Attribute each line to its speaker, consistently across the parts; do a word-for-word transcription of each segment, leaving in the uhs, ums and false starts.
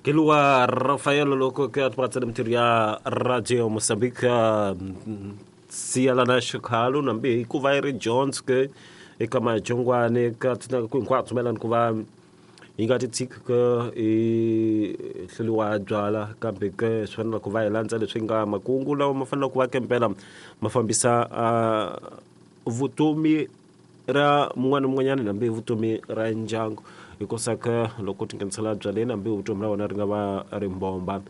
Speaker 1: Keluwa Rafael loko ke atpatsana mtirho ya Radio Mozambique siyalana xikhalo nambi hikuva yi ri Jones ke eka majongwane ka tsina ku hinkwaswo mayelana ku va yi nga ti tshiki ke i hluriwa byala kambe ke swi fanele ku va hi landza leswi nga makungu lawa ma fanele ku va kempela ma fambisa vutomi ra mun'wana mun'wanyana nambi vutomi ra ndyangu hikusa ke loko ti nghenisela byaleni hambi vutomi ra wena ri nga va ri mbomba.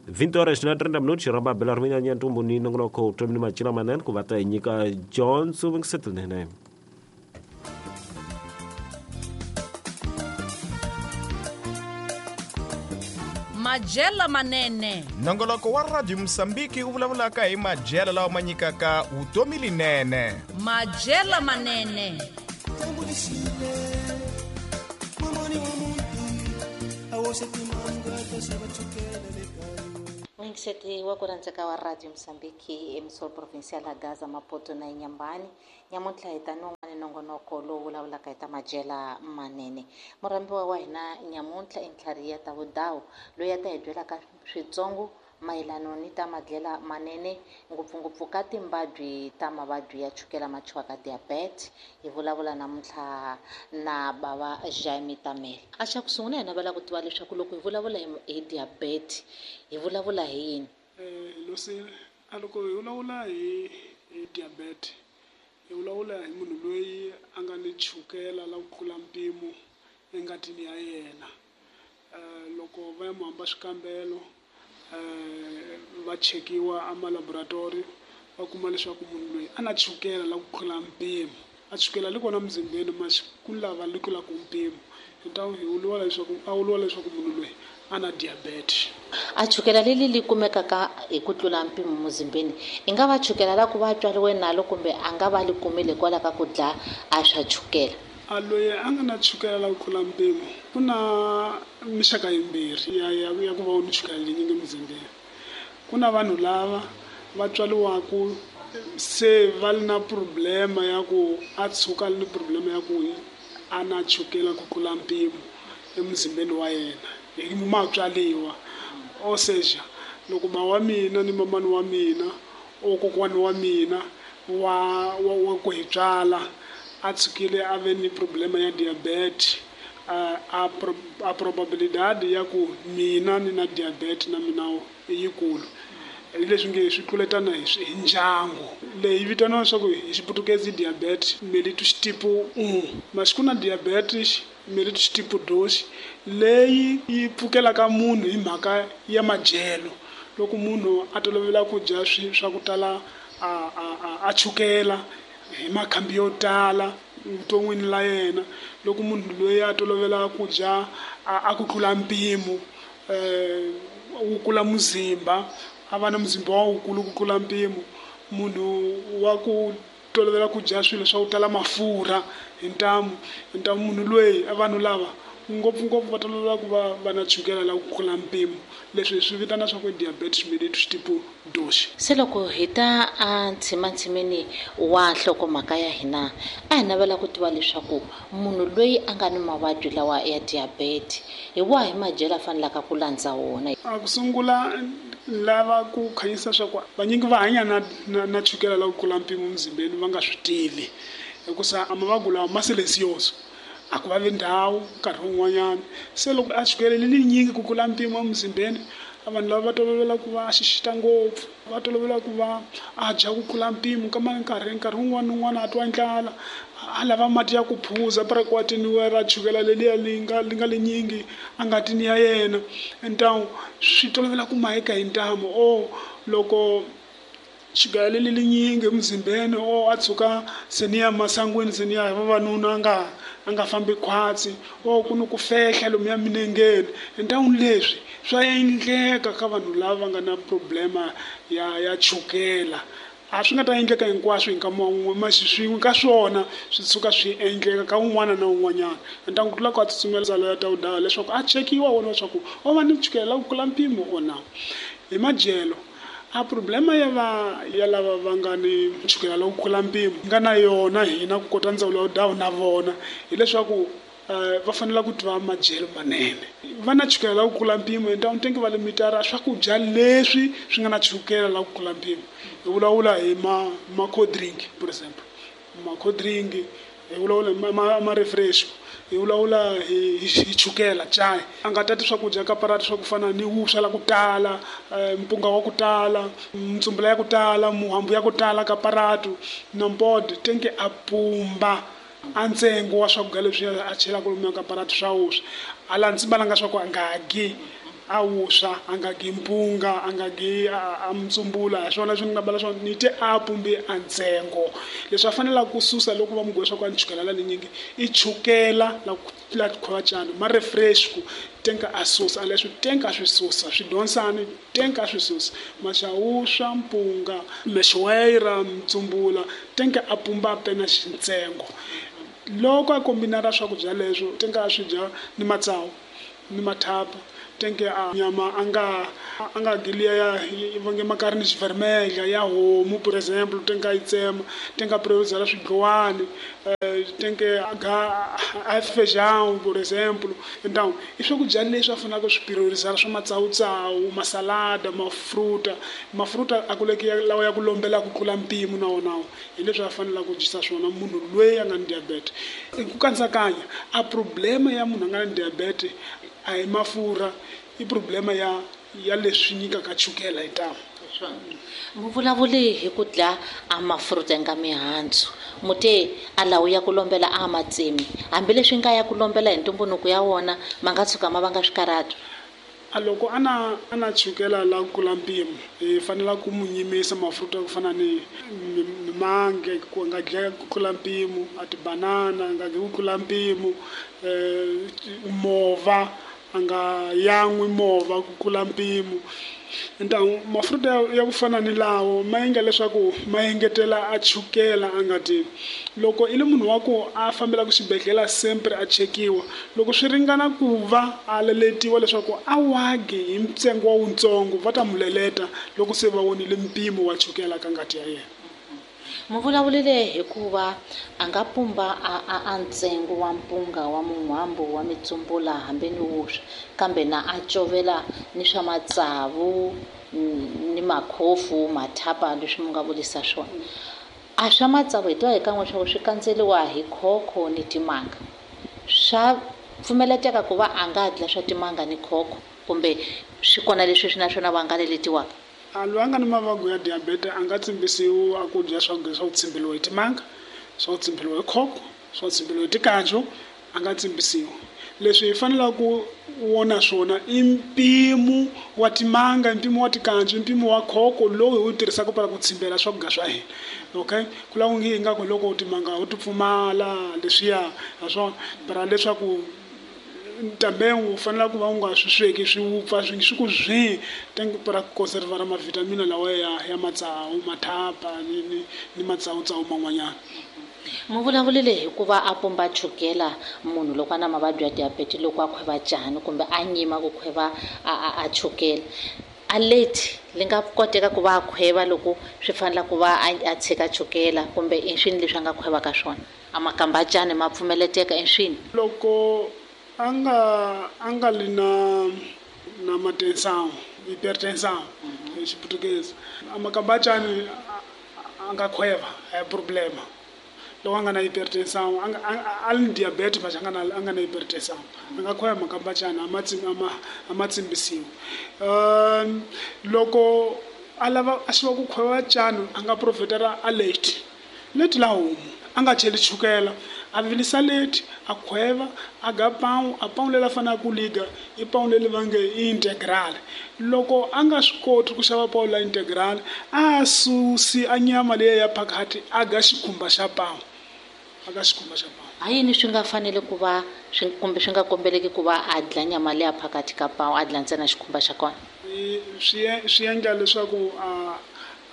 Speaker 1: vinte horas na trinta minutos ramba bela ri nya ntumbu ni nongonoko vutomi ni macila manene ku va ta hi nyika Johnson Vingisetinene.
Speaker 2: Majela manene.
Speaker 3: Nongoloko wa Radio Mozambique wu vulavulaka hi majela lawa ma nyikaka vutomi linene.
Speaker 2: Majela manene.
Speaker 4: Muyingiseti wa ku rhandzeka wa Radio Mozambique emisol provincial ya Gaza Maputo na Inhambane nyamuntlha hi ta non'wana nongonoko lowu vulavulaka hi ta majela manene. Murhambiwa wa hina nyamuntlha i Ntlhariya Tavudawu loyi a ta hi byelaka switsongo mayelana ni ta madlela manene ngopfungopfu ka timbabyi ta mavabyi ya chukela ma thyiwaka diabetes. Hi vulavula namuntlha na bava Jaime Tamele. A xa ku sungula hi navela ku tiva leswaku loko hi vulavula hi diabetes hi vulavula hi yini?
Speaker 5: Losi a loko hi vulavula hi hi diabetes hi vulavula hi munhu loyi a nga ni chukela la ku tlula mpimo engatini ya yena. Loko va ya mu hamba swikambelo va chekiwa amalaboratori va kuma leswaku munhu loyi a na chukela la ku tlula mpimo a chukela li kona muzimbeni mas ku lava li tlulaka mpimo hi hi vuriwa leswaku a vuriwa leswaku munhu loyi a na diabetes.
Speaker 4: A chukela leli li kumekaka hi ku tlula mpimo muzimbeni i nga va chukela la ku va tswariwe nalo kumbe a nga va li kumile hikwalaho ka ku dla a swa chukela?
Speaker 5: A loyi a nga na chukela la ku tlula mpimo ku na mixaka yimbirhi ya ya ya ku va u ni chukela leyinyingi muzimbeni. Ku na vanhu lava va tswariwaku se va li na problema ya ku a tshuka li ni problema ya ku a na chukela ku tlula mpimo emuzimbeni wa yena hi matswaliwa. Ou seja, loko ba wa mina ni mamani wa mina o kokwani wa mina wa wa wa ku hi tswala a tshukile a ve ni problema ya diabetes a a, a probabilidade ya ku mina ni na diabetes na mina i yikulu. Hi leswi nge swi tluletana hi hi ndyangu leyi vitaniwa leswaku hi xiputukezi diabetes mellitus tipo un mas ku na diabetes mellitus tipo dos leyi yi pfukelaka munhu hi mhaka ya madyelo. Loko munhu a tolovela ku dya swi swa ku tala a a a chukela hi makhambi yo tala vuton'wini la yena, loko munhu loyi a tolovela ku dya a ku tlula mpimo wu kula muzimba a va na muzimba wa wukulu ku tlula mpimo, munhu wa ku tolovela ku dya swilo swa ku tala mafurha hi ntamu hi ntamu munhu loyi vanhu lava ngopfungopfu va tolovela ku va va na chukela la ku tlula mpimo leswi hi swi vitana swa ku diabetes mellitus tipo dos.
Speaker 4: Se loko hi ta a ntshimantshinini wa nhlokomhaka ya hina a hi navela ku tiva leswaku munhu loyi a nga ni mavabyi lawa ya diabetes hi wahi madyelo a fanelaka ku landza wona?
Speaker 5: A ku sungula lava ku khanyisa swa ku vanyingi va hanya na na, na chukela la ku tlula mpimo muzimbeni va nga swi tivi hikusa a mavabyi lawa ma silencioso a ku vavi ndhawu nkarhi wun'wanyana. Se loko a chukele li linyingi ku tlula mpimo emuzimbeni vanhu lava va tolovela ku va a xixita ngopfu va tolovela ku va a dya ku tlula mpimo ka nkarhi nkarhi wun'wana na wun'wana a twa ndlala a lava mati ya ku phuza parakwatini wa ra chukela leliya li nga li nga linyingi a ngatini ya yena ntamu swi tolovela ku maheka hi ntamu o loko chukela leli linyingi emuzimbeni o a tshuka se ni ya masangwini se ni ya hi vavanuna a nga a nga fambi khwatsi o ku ni ku fehla lomuya minengeni ntamu leswi swa endleka ka vanhu lava va nga na problema ya ya chukela. A swi nga ta endleka hinkwaswo hi nkama wun'we masi swin'we ka swona swi tshuka swi endleka ka un'wana na un'wanyana. Ntangu ku tlula ku a tsutsumela ndzalo ya Tawudawu leswaku a chekiwa wona leswaku o va ni chukela la ku tlula mpimo or na. Hi madyelo a problema ya va ya lava va nga ni chukela la ku tlula mpimo nga na yona hina ku kota ndzawulo ya dawu na vona hileswaku va fanele ku tiva madyelo manene. Va na chukela la ku kula mpimo hi tenke va limitara swakudya leswi swi nga na chukela la ku kula mpimo. Hi vulavula hi ma ma cold drink for example, ma cold drink, hi vulavula hi ma ma refresh, hi vulavula hi hi chukela chai. A nga tati swakudya ka parati swa ku fana ni vuswa la ku tala, mpunga wa ku tala, mtsumbula ya ku tala, muhambu ya ku tala ka paratu, nombod tenke a pumba a ntsengo wa swakudya leswi a chelaka lomuya ka paratu swa vuswa. A landzi balanga swa ku a nga gi a vuswa, a nga gi mpunga, a nga gi a mtsumbula, hi swona leswi ni nga bala swona ni te a pumbi a ntsengo. Leswi a fanelaka ku susa loko va mu swa ku a ni chukela la linyingi i chukela la la khwachana ma refresh ku tenka a susa leswi tenka swi susa swi donsani tenka swi susa maxawuswa mpunga mexwera mtsumbula tenka a pumba pena xintsengo. Loko a kombinara swakudya leswo tenka a swi dya ni matsawu ni mathapa tenke a nyama a nga a nga gilia ya vange makarni xivermelha ya homu for example tenka yi tsema tenka priorizela swidlowani tenke a ga a feijão por exemplo. Então i swakudya leswi a fanelaka swi priorizela swa matsawutsawu, masalada, mafruta mafruta a kuleki lawa ya ku lombela ku tlula mpimo na wona hi leswi a fanelaka ku dyisa swona munhu loyi a nga ni diabetes. Ku kantsakanya a problema ya munhu a nga ni diabetes a hi mafurha, i problema ya ya leswi nyikaka chukela hi ntamu.
Speaker 4: Mu vulavuli hi ku dla a mafruta nga mihandzu mute a lawu ya ku lombela a matsemi hambileswi nga ya ku lombela hi ntumbuluko ya wona ma nga tshuka ma vanga swikarhato.
Speaker 5: A loko a na a na chukela la ku kula mpimo hi fanela ku mu nyimisa mafruta ku fana ni mimange ku nga dya ku tlula mpimo, a tibanana nga dyi ku tlula mpimo, mova a nga yan'wi movha ku kula mpimo. Então mafruta ya ku fana ni lawo ma endla leswaku ma engetela a chukela a nga ti. Loko i le munhu wa ku a fambelaka xibedhlele sempre a chekiwa, loko swi ringana ku va a leletiwa leswaku a wagi hi ntsengo wa wutsongo va ta mu leleta loko se va vonile mpimo wa chukela ka ngati ya yena.
Speaker 4: Mu vulavulile hikuva a nga pumba a a a ntsengo wa mpunga wa mun'wambu wa mitsumbula hambi ni vuswa kambe na a covela ni swa matsavu ni makhofu mathapa leswi mu nga vulisa swona. A swa matsavu hi tiva hi kan'we swa ku swi kandzeliwa hi khokho ni timanga, swa pfumeleteka ku va a nga dla swa timanga ni khokho kumbe swi kona leswi swi na swona va nga leletiwaka?
Speaker 5: A loyi a nga ni mavabyi ya diabetes a nga tsimbisiwi a ku dya swakudya swa ku tsimbiliwa hi timanga, swa ku tsimbiliwa hi khokho, swa ku tsimbiliwa hi tikanjo, a nga tsimbisiwi. Leswi hi fanelaka ku vona swona i mpimo wa timanga, mpimo wa tikanjo, mpimo wa khokho lowu hi wu tirhisaka para ku tsimbela swakudya swa hina. Okay, ku lava ngi ingaku loko timanga u ti pfumala leswiya ha swona para leswaku também u fanele ku va u nga swi sweki swi wupfa swi swi ku zwi tenke para ku conservar mavitamina lawa ya ya matsawu mathapa ni ni ni matsawutsawu man'wanyana.
Speaker 4: Mu vulavulile hikuva a pumba chukela munhu loko a na mavabyi ya diabetes loko a khweva cani kumbe a nyima ku khweva a a a chukela a leti li nga koteka ku va a khweva loko swi fanela ku va a tshika chukela kumbe i swini leswi a nga khwevaka swona a makamba cani ma pfumeleteka i swini?
Speaker 5: Loko a nga a nga li na na matensão, hipertensão hi xiputukezi, a makamba cani a nga khweva a hi problema. Loko a nga na hipertensão a nga a li ni diabetes mas a nga na a nga na hipertensão a nga khweva makamba cani a ma a ma a ma tsimbisiwi. Um loko a lava a xiva ku khweva cani a nga profitera a leti leti la homu a nga cheli chukela, a vilisa leti a khweva a ga pão a pão leri a fanelaka ku liga i pão leri va nge i integral. Loko a nga swi koti ku xava pão la integral a susi a nyama leyi ya phakathi a ga xikhumba xa pão, a ga xikhumba xa pão.
Speaker 4: Ha yini swi nga fanele ku va swi kumbe swi nga kombeleki ku va a dla nyama leya phakathi ka pão a dla ntsena xikhumba xa kona?
Speaker 5: Swi swi endla leswaku a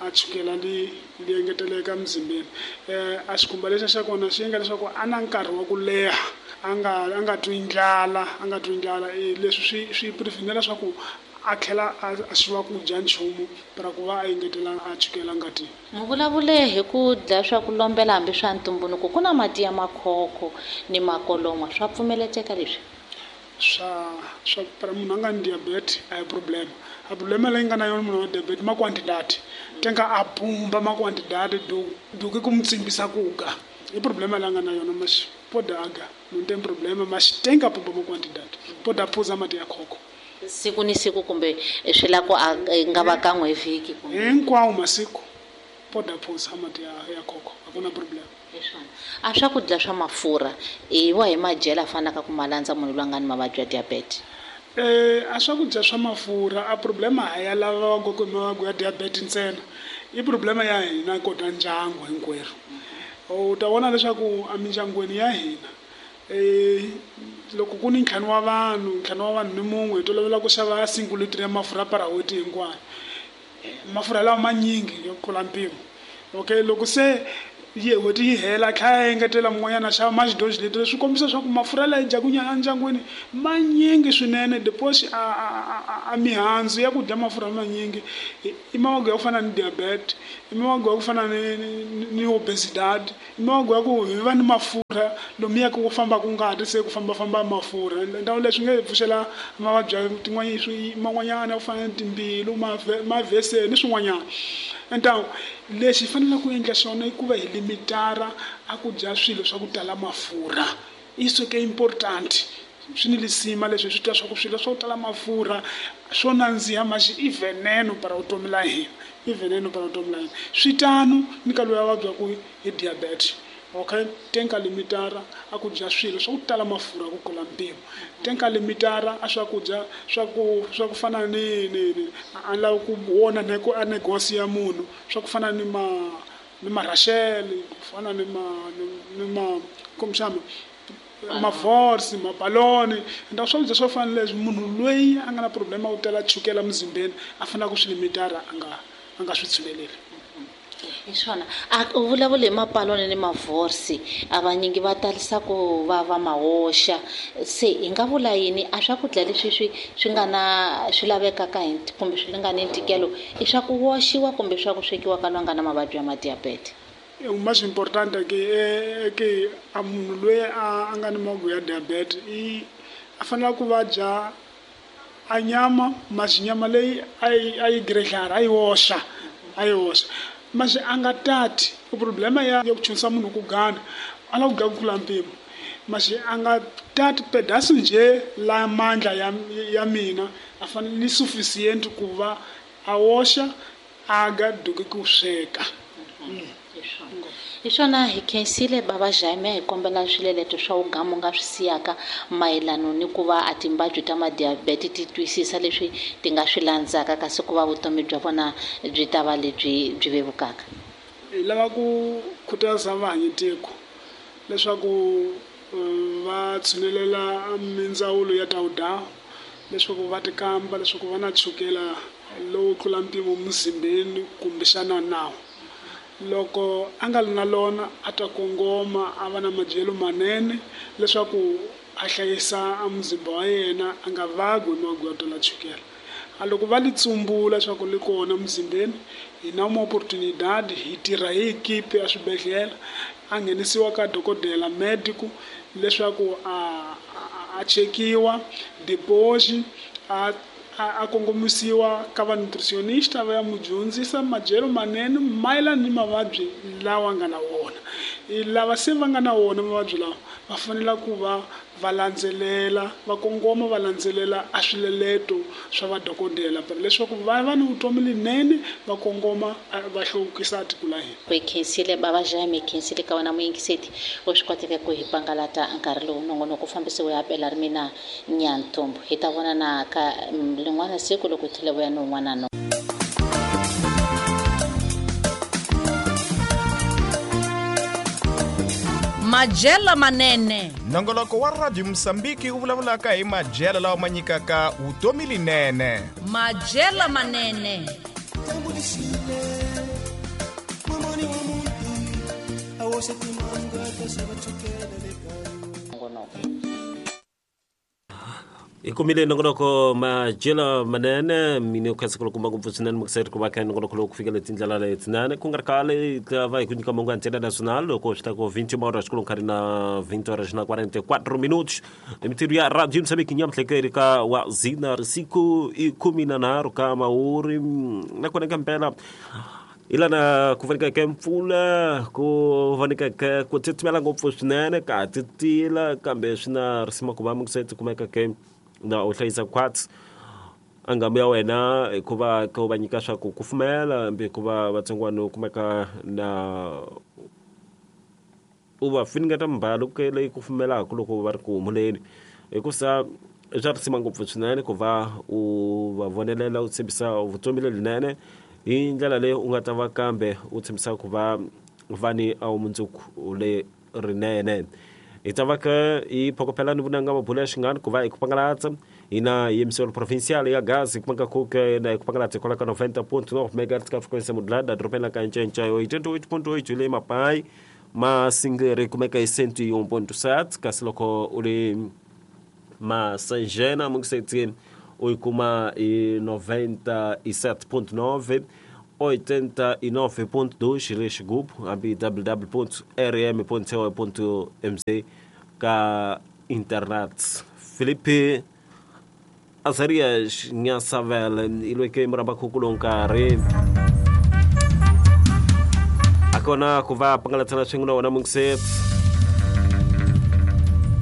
Speaker 5: a chukela li li engeteleka mzimbeni. Eh a xikhumba lexa xa kona xi endla leswaku a na nkarhi wa ku leha a nga a nga twi ndlala a nga twi ndlala. Leswi swi swi prevent leswaku a tlhela a xiva ku dya nchumu para ku va a engetela a chukela ngatini.
Speaker 4: Mu vulavule hi ku dlaya swa ku lombela hambi swa ntumbuluko, ku na mati ya makhokho ni makolomwa, swa pfumeleteka leswi?
Speaker 5: Swa swa para munhu a nga ni diabetes a hi problem. A problema leyi nga na yona munhu wa diabetes ma quantidade tenga a pumba ma quantidade do do ke ku mu tsimbisa ku ga i problema leyi nga na yona mas poda aga não tem problema, mas tenga pumba ma quantidade poda phuza mati ya khokho
Speaker 4: siku ni siku kumbe swi la ku a nga va kan'we hi vhiki kumbe
Speaker 5: hinkwawo masiku poda phuza mati ya ya khokho a ku na problem.
Speaker 4: Leswona a swakudya swa mafurha i wa hi madyelo a fanaka ku ma landza munhu loyi a nga ni mavabyi ya diabetes?
Speaker 5: Eh a swakudya swa mafurha a problema ha ya lava va ku mavabyi ya diabetes ntsena, i problema ya hina kota ndyangu hinkwerhu. U ta vona leswaku emindyangwini ya hina eh loko ku ni ntlhanu wa vanhu ntlhanu wa vanhu ni mun'we hi tolovela ku xava single liter ya mafurha para n'hweti hinkwayo, mafurha lawa manyingi yo tlula mpimo. Okay, loko se yi n'hweti yi hela a tlhela a engetela mun'wanyana a xava maxidoji leti, swi kombisa leswaku mafurha lawa yi dyaku endyangwini manyingi swinene. Depois a a a mihandzu ya ku dya mafurha manyingi i mavabyi ya ku fana ni diabetes, i mavabyi ya ku fana ni ni obesidade, i mavabyi ya ku hi va ni mafurha lomuya ku fambaka ngati se ku fambafamba mafurha. Ndhawu leswi nge hi pfuxela mavabyi ya tin'wanyana man'wanyana ya ku fana ni timbilu, mavheseni ni swin'wanyana. Então lexi hi faneleke ku endla xona i ku va hi limitara a ku dya swilo swa ku tala mafurha. Isso ke important swi ni lisima leswi hi swi twa swa ku swilo swa ku tala mafurha swo nandziha maxi i veneno para vutomi la hina, i veneno para vutomi la hina. Swi tano ni ka loyi a vabyaku hi diabetes. Okay, tenka limitara a ku dya swilo swa ku tala mafurha ku tlula mpimo, tenka limitara a swakudya swa ku swa ku fana ni ni ni a lava ku vona ne ku a negosi ya munhu swa ku fana ni ma ni marashele, ku fana ni ma ni ma komxama mavorsi mabaloni nda swakudya swo fana leswi munhu loyi a nga na problema ku tala chukela muzimbeni a fanele ku swi limitara a nga a nga swi tshuneleli.
Speaker 4: Hi swona a u vulavule hi mapaloni ni mavorsi, a vanyingi va talisa ku va va mahoxa, se hi nga vula yini a swakudya leswi swi swi nga na swi lavekaka hi kumbe swi nga ni ntikelo i swa ku woxiwa kumbe swa ku swekiwa ka loyi a nga na mavabyi ya madiabete?
Speaker 5: O mais importante é que é que a munhu loyi a nga ni mavabyi ya diabetes i a fanele ku va dya a nyama, mas nyama leyi a yi a yi grelhara a yi oxa a yi oxa mas a nga tati. O problema ya ku chunisa munhu ku gana a lava ku dya ku tlula mpimo, mas a nga tati pedaço nje la mandla ya ya mina a fanele ni suficient ku va a oxa a ga duke ku sweka.
Speaker 4: Hi swona hi khensile bava Jaime, hi kombela swileleto swa wugamu nga swi siyaka mayelano ni ku va a timbabyi ta madiabete ti twisisa leswi ti nga swi landzaka kasi ku va vutomi bya vona byi ta va lebyi byi vevukaka.
Speaker 5: Hi lava ku khutaza vahanyitiko leswaku va tshunelela mindzawulo ya tawudawu leswaku va tikamba leswaku va na chukela lowu tlula mpimo muzimbeni kumbexana nawu. Loko a nga ri na lona a ta kongoma a va na madyelo manene leswaku a hlayisa a muzimba wa yena a nga vabyi hi mavabyi yo tala chukela. A loko va li tsumbula leswaku li kona muzimbeni hi na uma oportunidade hi tirha hi ekipe ya swibedhlele a nghenisiwa ka dokodela medico leswaku a a chekiwa depois a a kongomisiwa ka va nutritionista va ya mu dyondzisa madyelo manene mayelana ni mavabyi lawa nga na wona. Lava se va nga na wona mavabyi lawa va fanele ku va va landzelela va kongoma va landzelela a swileleto swa vadokodela leswaku va va ni vutomi linene va kongoma va hluvukisa tiko la hina.
Speaker 4: Hi khensile bava Jaime, hi khensile ka wena muyingiseti wo swi koteke ku hi pangalata nkarhi lowu nongonoko fambisiwe ya Bela ri mina Nyantombo. Hi ta vonana ka rin'wana siku loko hi tlhela vuya ni un'wana no.
Speaker 2: Madyelo manene.
Speaker 3: Nongoloko wa Radio Mosambiki wu vulavulaka hi madyelo lawa ma nyikaka vutomi linene.
Speaker 2: Madyelo manene.
Speaker 1: Hi kumile nongonoko madyelo manene mine ku khensa kulukumba ngopfu swinene mukiseri ku va kha nongonoko lowu ku fikela tindlela letinene ku nga ri khale hi ta va hi ku nyika mongo ya Antena Nacional loko swi ta ku vinte horas ku nkarhi na vinte horas na quarenta e quatro minutos mintirho ya Radio Moçambique nyamuhlekeri ka wa zina risiku i kumi na nharhu ka mawuri nakona ka mpela ilana ku vonikeke mpfula ku vonikeke ku titimela ngopfu swinene ka titila kambe swi na risima ku va mukiseri kumeka ke na u hlayisa khwatsi angamu ya wena hikuva ka u va nyika swa ku kufumela hambi hikuva vatsongwana u kumeka na u va finingeta mbalo ke leyi kufumelaka loko va ri ku humuleni hikusa swa risima ngopfu swinene ku va u va vonelela u tshembisa vutomi lebyinene hi ndlela leyi u nga ta va kambe u tshembisa ku va va ni a mundzuku le rinene. Hi ta va ka hi phokopela ni vunanga mabulu ya xingani ku va hi ku pangalatsa hina hi emisolo provincial ya Gaza hi kumeka ku ke na hi ku pangalatsa hikwalaho ka noventa ponto nove megahertz ka frequência modulada dorobeni la ka Ncencea oitenta e oito ponto oito le Mapai Masingere kumeka hi cento e um ponto sete kasi loko u ri Masanjena mungisetsini u yi kuma hi noventa e sete ponto nove oitenta e nove ponto dois le xigubu hambi w w w ponto r m ponto co ponto m c ka internet. Felipe Azarias Nhasavel i loyi ke muramba khuku lowu nkarhi akona ku va pangalatsana swin'we na wona mungiseti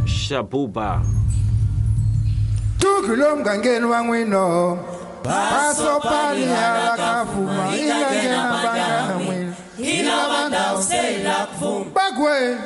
Speaker 1: Xabuba
Speaker 6: Tukulo mgangeni wa n'wino Paso pali ala kafuma ila ngena banga mwini ila banda usela kufuma bagwe.